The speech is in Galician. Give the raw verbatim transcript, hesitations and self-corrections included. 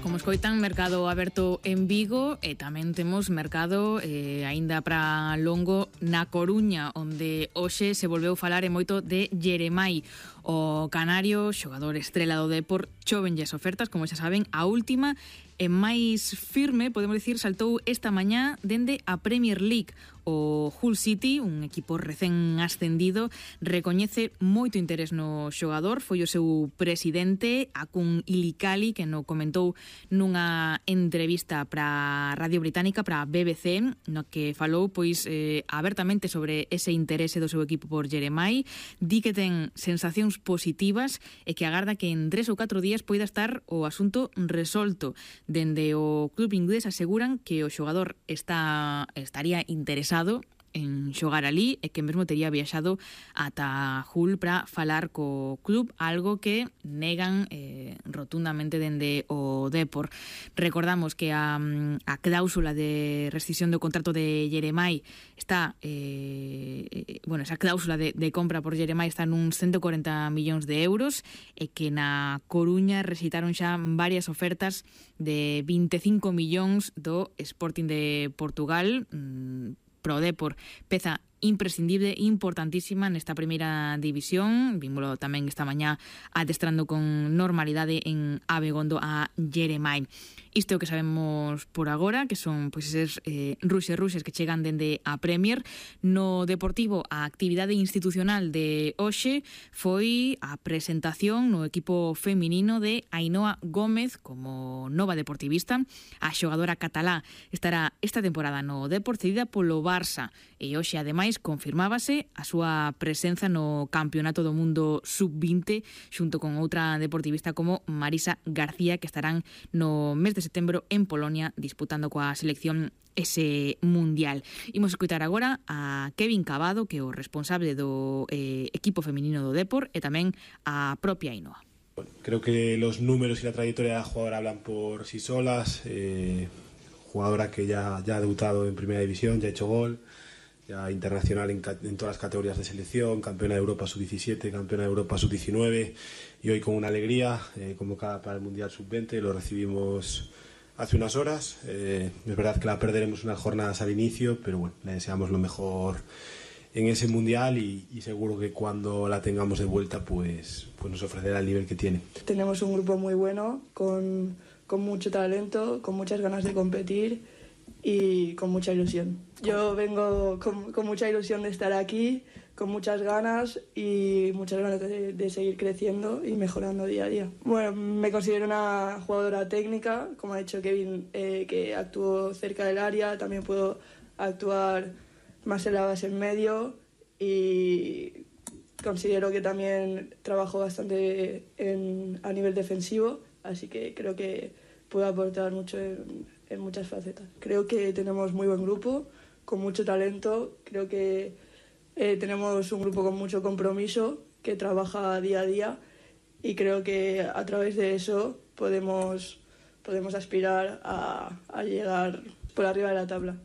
Como escoitan, mercado aberto en Vigo e tamén temos mercado eh, aínda para longo na Coruña, onde hoxe se volveu falar e moito de Jeremai, o canario, xogador estrela do Depor. Chovenlle as ofertas, como xa saben, a última e máis firme, podemos dicir, saltou esta mañá dende a Premier League. O Hull City, un equipo recén ascendido, recoñece moito interés no xogador. Foi o seu presidente, Akun Ilikali, que no comentou nunha entrevista para Radio Británica, para B B C, no que falou pois eh, abertamente sobre ese interese do seu equipo por Jeremai. Di que ten sensacións positivas e que agarda que en tres ou catro días poida estar o asunto resolto. Dende o club inglés aseguran que o xogador está estaría interesado en xogar ali e que mesmo tería viaxado ata Hull para falar co club, algo que negan eh, rotundamente dende o Depor. Recordamos que a, a cláusula de rescisión do contrato de Jeremai está eh, bueno, esa cláusula de, de compra por Jeremai está nun ciento corenta millóns de euros e que na Coruña recitaron xa varias ofertas de veinticinco millóns do Sporting de Portugal. mmm, Pro Depor, peza imprescindible, importantísima nesta primeira división. Vímolo tamén esta mañá adestrando con normalidade en Abegondo a Jeremai. Isto é o que sabemos por agora, que son pois eses eh, ruxes ruxes que chegan dende a Premier. No Deportivo, a actividade institucional de hoxe foi a presentación no equipo feminino de Ainhoa Gómez como nova deportivista. A xogadora catalá estará esta temporada no Depor, cedida polo Barça, e hoxe ademais confirmábase a súa presenza no Campeonato do Mundo sub vinte xunto con outra deportivista como Marisa García, que estarán no mes de setembro en Polonia disputando coa selección ese mundial. Imos escutar agora a Kevin Cabado, que é o responsable do eh, equipo feminino do Depor, e tamén a propia Ainhoa. Creo que los números y la trayectoria de la jugadora hablan por sí solas. Eh, jugadora que ya, ya ha debutado en Primera División, ya ha hecho gol, ya internacional en, en todas las categorías de selección, campeona de Europa sub diecisiete, campeona de Europa sub diecinueve, y hoy con una alegría, eh, convocada para el Mundial sub veinte, lo recibimos hace unas horas. Eh, es verdad que la perderemos unas jornadas al inicio, pero bueno, le deseamos lo mejor en ese Mundial y, y seguro que cuando la tengamos de vuelta pues, pues nos ofrecerá el nivel que tiene. Tenemos un grupo muy bueno, con, con mucho talento, con muchas ganas de competir y con mucha ilusión. Yo vengo con, con mucha ilusión de estar aquí, con muchas ganas y muchas ganas de, de seguir creciendo y mejorando día a día. Bueno, me considero una jugadora técnica, como ha dicho Kevin, eh, que actúo cerca del área, también puedo actuar más en la base en medio y considero que también trabajo bastante en, a nivel defensivo, así que creo que puedo aportar mucho en, en muchas facetas. Creo que tenemos muy buen grupo, con mucho talento, creo que eh, tenemos un grupo con mucho compromiso, que trabaja día a día y creo que a través de eso podemos, podemos aspirar a, a llegar por arriba de la tabla.